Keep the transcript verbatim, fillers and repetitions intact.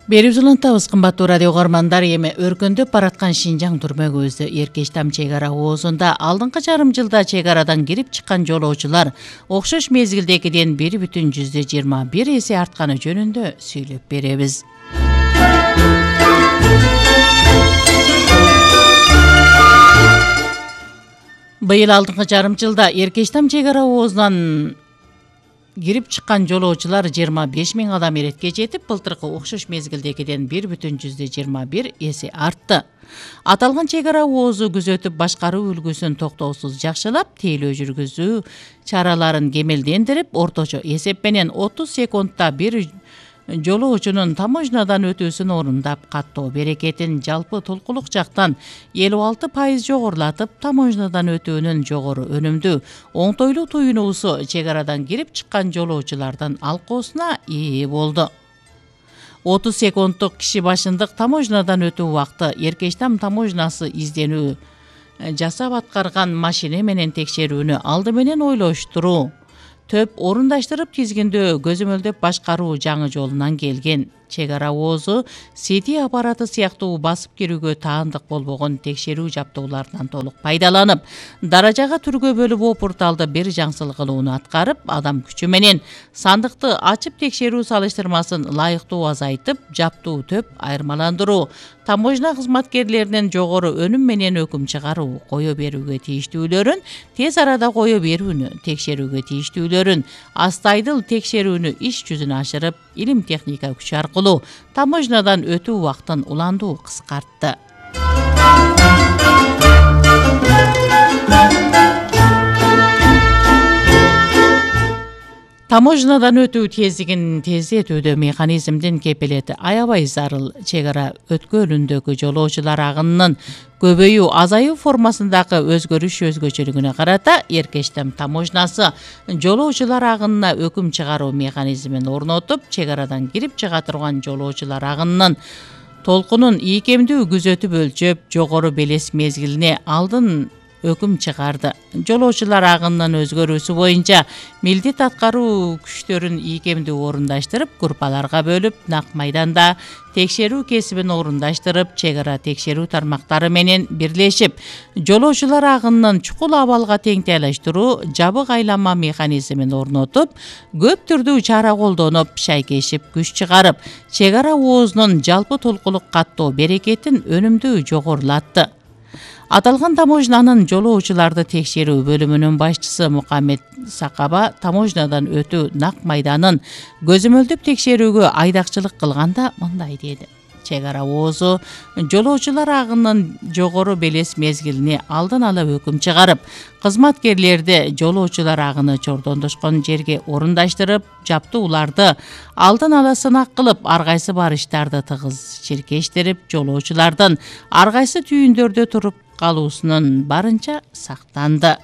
Берип улантабыз кымбаттуу радио угармандар. Эми өркөндөп бараткан Шинжаң түрмөгүбүздө Эркечтам чек ара оозунда алдыңкы жарым жылда чек арадан кирип чыккан жолоочулар окшош мезгилдегиден бир бүтүн жүздө жыйырма бир эсе артканы жөнүндө сүйлөп беребиз. Быйыл алдыңкы жарым жылда Эркечтам чек ара оозунан кирип чыккан жолоочулар жыйырма беш миң адам иретке жетип, былтыркы окшош мезгилдегиден бир бүтүн жүздө жыйырма бир эсе артты. Аталган чек ара оозу күзөтүп башкаруу үлгүсүн токтоосуз жакшылап, тейлөө жүргүзүү чараларын кемелдендирип, орточо эсеп менен отуз секундта бир жолоочунун таможнядан өтүүсүн орундап, каттоо берекетин жалпы толкулук жактан элүү алты пайыз жогорулатып, таможнядан өтүүнүн жогору өнүмдүү, оңтойлуу туюнуусу чек арадан кирип чыккан жолоочулардын алкоосуна ээ болду. отуз секунддук киши башындык таможнядан өтүү убакыты Эркечтам таможнясы изденүү жасап аткарган машина менен текшерүүнү алды менен ойлоштуруу, төп орундаштырып тизгиндөө, көзөмөлдөп башкаруу жаңы жолунан келген. Чек ара оозу сети аппараты сыяктуу басып кирүүгө таандык болбогон текшерүү жабдууларынан толук пайдаланып, даражага түргө бөлүп опурталды бир жаңсыл кылууну аткарып, адам күчү менен сандыкты ачып текшерүү салыштырмасын лайыктуу азайтып, жаптуу төп айырмаландыруу, таможня кызматкерлеринин жогору өнүм менен өкүм чыгаруу, кое берүүгө тийиштүүлөрүн тез арада кое берүүнү, текшерүүгө тийиштүүлөрүн астайдыл текшерүүнү иш жүзүнө ашырып, илим техника күчү аркылуу таможнядан өтүү убактын уландуу кыскартты. Таможнядан өтүү тездигин тездетүүдө механизмдин кепилети аябай зарыл. Чек ара өткөлүндөгү жолоочулар агынынын көбөйүү азаюу формасындагы өзгөрүш өзгөчөлүгүнө карата Эркечтам таможнясы жолоочулар агынына өкүм чыгаруу механизмин орнотуп, чек арадан кирип чыга турган жолоочулар агынынын толкунун ийкемдүү күзөтүп өлчөп, жогору белес мезгилине алдын өкүм чыгарды. Жолоочулар агынынын өзгөрүүсү боюнча милдет аткаруу күчтөрүн ийкемдүү орундаштырып, группаларга бөлүп, нак майданда текшерүү кесибин орундаштырып, чек ара текшерүү тармактары менен бирлешип, жолоочулар агынынын чукул абалга теңтайлаштыруу жабык айланма механизмин орнотуп, көп түрдүү чара колдонуп, шайкешип күч чыгарып, чек ара оозунун жалпы толкулук каттоо берекетин өнүмдүү жогорулатты. Аталган таможнянын жолоочуларды текшерүү бөлүмүнүн башчысы Мукаммед Сакаба таможнядан өтүү нак майданын көзөмөлдөп текшерүүгө айдакчылык кылганда мындай деди. Чек ара оозу жолоочулар агынынын жогору белес мезгилине алдын ала өкүм чыгарып, кызматкерлерди жолоочулар агыны чордондошкон жерге орундаштырып, жаптууларды алдын ала сынак кылып, ар кайсы барыштарды тыгыз чиркештирип, жолоочулардын ар кайсы түйүндөрдө туруп калуусунун барынча сактанды.